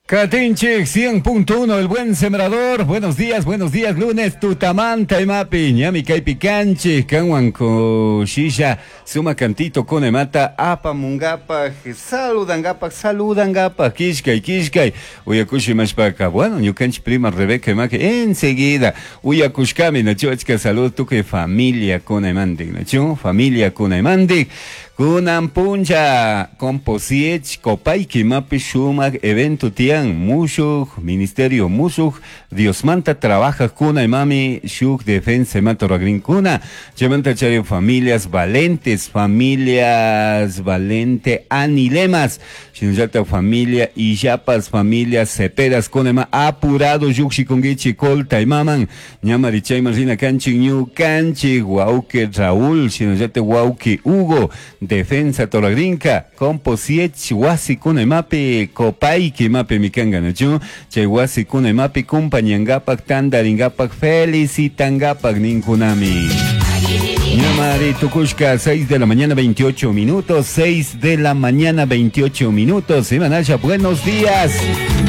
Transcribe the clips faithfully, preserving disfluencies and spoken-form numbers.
Katinchik cien punto uno, El Buen Sembrador. Buenos días, buenos días, lunes, tutamanta imapi, ñami kaypi kanchik, kanwan kushisha, suma cantito kunemata, apamungapaj, saludangapaj, saludangapaj, kishkay, kishkay, uyakushi mashpaka, bueno, ñukanchik prima Rebeca imaki, enseguida, uyakushkami, nachu, achka salud, tukuy familia kunemantik, nachu, familia kunemantik. Kunan puncha composiech kopayki mapi shumak evento tian mushuk ministerio mushuk Diosmanta trabaja kuna imami shuk defensa imata ragrinkuna chaymanta chari familias valentes, familias valente anilemas shinallata familia illapas, familia cepedas kuna ima apurado yukshikunkichi kolta imaman ñamari chayman rina kanchik ñukanchik wauki Raúl shinallata wauki Hugo defensa toragrinka composiech wasi kuna imapi kopayki imapi mikanga nachu chay wasi kuna imapi kumpañangapak tandaringapak felicitangapak ninkunami. Ñamari tukushka seis de la mañana veintiocho minutos, seis de la mañana veintiocho minutos. Imanasha, buenos días.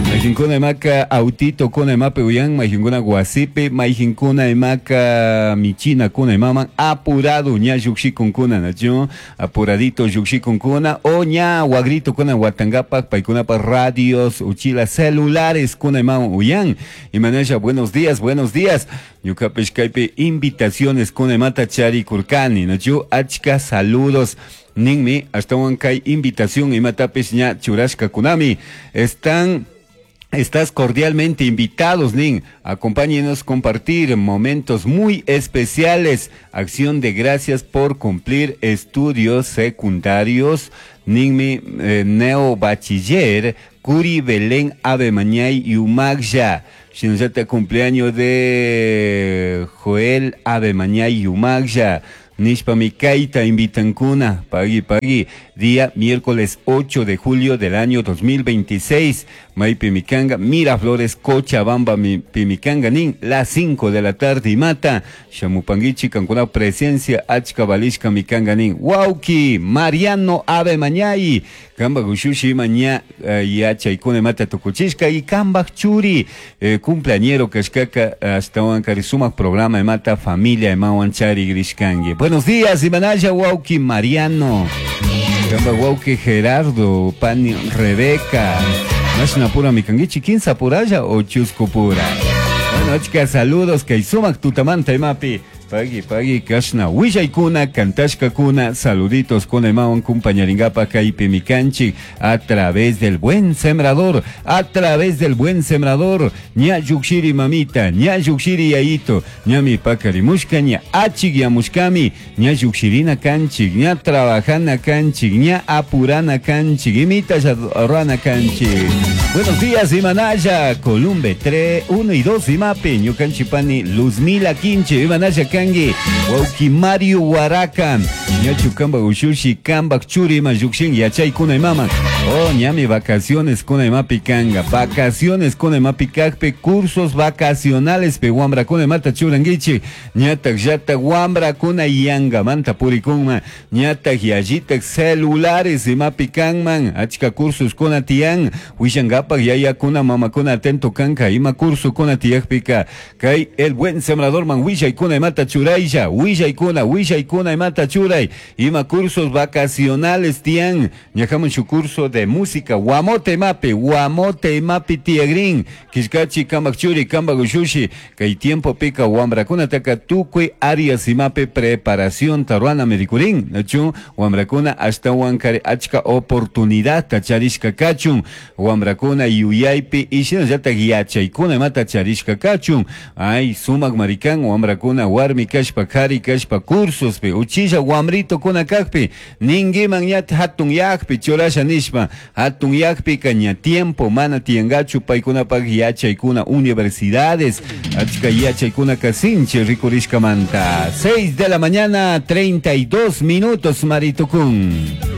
Majinkuna imaka autito kuna imapi uyan, majinkuna guasipi, majinkuna imaka michina kuna imaman, apurado ña yuxikunkuna nachu, apuradito yuxikunkuna, o ña guagrito kuna watangapak, paikunapa radios, uchila celulares kuna imaman uyan. Imanasha, buenos días, buenos días. Ñukapish kaypi invitaciones kuna imata chari kurkani, nachu, achka saludos. Ninmi, hasta kay invitación imatapis ña churashka kunami. Están Estás cordialmente invitados, Nin. Acompáñenos a compartir momentos muy especiales. Acción de gracias por cumplir estudios secundarios. Ninmi, eh, neo bachiller, Curi Belén Ave Mañay y Umagya. Shinzata cumpleaños de Joel Ave Mañay y Umagya. Nishpa mikaita invitankuna, pagui pagui, día miércoles ocho de julio del año dos mil veintiséis, Maipi Mikanga, Miraflores, Cochabamba, mi, Pimikanga, nin, las cinco de la tarde y mata, Shamupanguichi, Cancuna, presencia, Achka Balishka, Mikanga, nin, Wauki, Mariano Ave Mañay, Kamba Gushushi, Maña, Yachaikune, Mata Tukuchishka, y Kamba Churi, eh, cumpleañero, Kashkaka, hasta Wankarisuma, programa, Mata, familia, Emawanchari, Grishkangi. Buenos días, Imanaya, Wauki, Mariano, Kamba Wauki, Gerardo, Pani, Rebeca, Mashna pura mikangichi, quinza puraya o chusco pura. Bueno, chicas, saludos, Kaisumak, tutamanta, imapi. Pagui, pagui, kashna, willaykuna, kantashkakuna, saluditos con imawan kumpañaringapa kaypi mikanchik, a través del Buen Sembrador, a través del Buen Sembrador, ña yukshiri mamita, ña yukshiri yayito, ña mi pakarimushka, ña achik yamushkami, ña yukshirina kanchik, ña trabajana kanchik, ña apurana kanchik, imita rana kanchik. Buenos días, Imanaya, Columbe, tres, uno y dos, imapi, ñukanchipani, Luzmila Quinche, Imanaya Kangi, Wauki Mario Huaraca, ñachu kamba ushushi, kamba churi ma yukshin, yachay kuna imama. Oh, ñami vacaciones kuna imapi kanga, vacaciones kuna imapi kakpe, cursos vacacionales pe wambra kuna imata churangichi, ñatak yata wambra kuna yanga manta purikunma, ñatak yayitak celulares imapi kanman, achka cursos kuna tian, wishangapak yaya kuna mama kuna atento kanka, ima curso kuna tiakpika, kay El Buen Sembrador man wishay kuna imata churaylla, willaykuna, willaykuna imata churay, ima cursos vacacionales tian, ñajamun su curso de música, guamote mapi, guamote mapi tiagrin, kishkachi kambak churi, kambak ushushi, kay tiempo pica wambrakuna taka tukui arias imape preparación taruana medicurín, nachu, wambrakuna hasta wankare achka oportunidad tacharishka kachun, wambrakuna yuyaypi, ishinallata yachaykuna imata charishka kachun, ay sumak marikan, wambrakuna warmi kashpa, kari kashpa, cursos pe, uchilla wamrito kuna kakpi, ningiman ñat hatun yakpi, churasha nishpa, hatun yakpi kaña tiempo, mana tiangachu, paykunapak yachaykuna, universidades, achka yachaykuna kasinche rikurishkamanta. seis de la mañana, treinta y dos minutos, Maritukun.